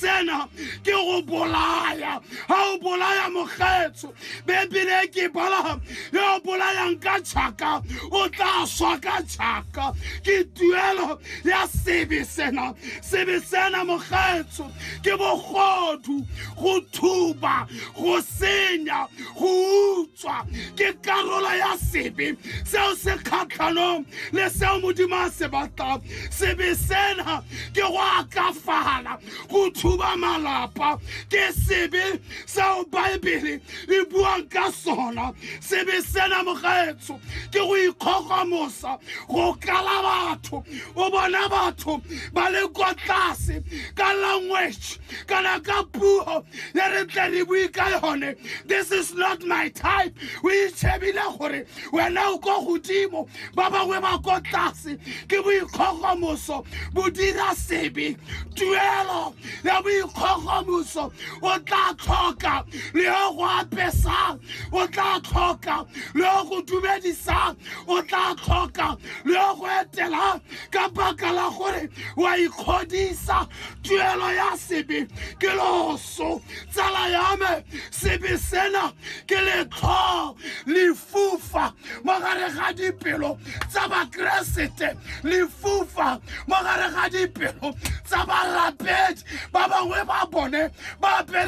Sena ke go bolaya. Ga o bolaya mokgetso, Bebele ke bala, yo o bolayang ka tšhaka o tla swa ka tšhaka. Ke tuelo ya sebe sena. Sebe sena, mokgetso, ke bogodu, go thuba, go senya, go utswa. Ke karolo ya sebe seo se kgatlhanong le seo Modimo a se batlang. Sebe sena ke go akafala, go thuba malapa. Ke sebe seo Baebele e buang ka sona. Sebe sena, mogaetsho, ke go ikgogomosa, go kala batho, o bona batho ba le kwa tlase. Ka language kana ka puo ya re tle re bue ka yone, "This is not my type." O itšhebile gore wena o ko godimo, ba bangwe ba ko tlase. Ke boikgogomoso, bo dira sebe. Tuelo ya boikgogomoso, o tla tlhoka le yo go apesang, o tla tlhoka le yo go dumedisang, o tla tlhoka le yo go etelang, ka baka la gore wa ikgodisa. Tuelo ya sebe ke loso. Tsala ya me, sebe sena ke letlho, lefufa mo gare ga dipelo tsa Bakeresete, lefufa mo gare ga dipelo tsa barapedi. Ba bangwe ba bone ba apere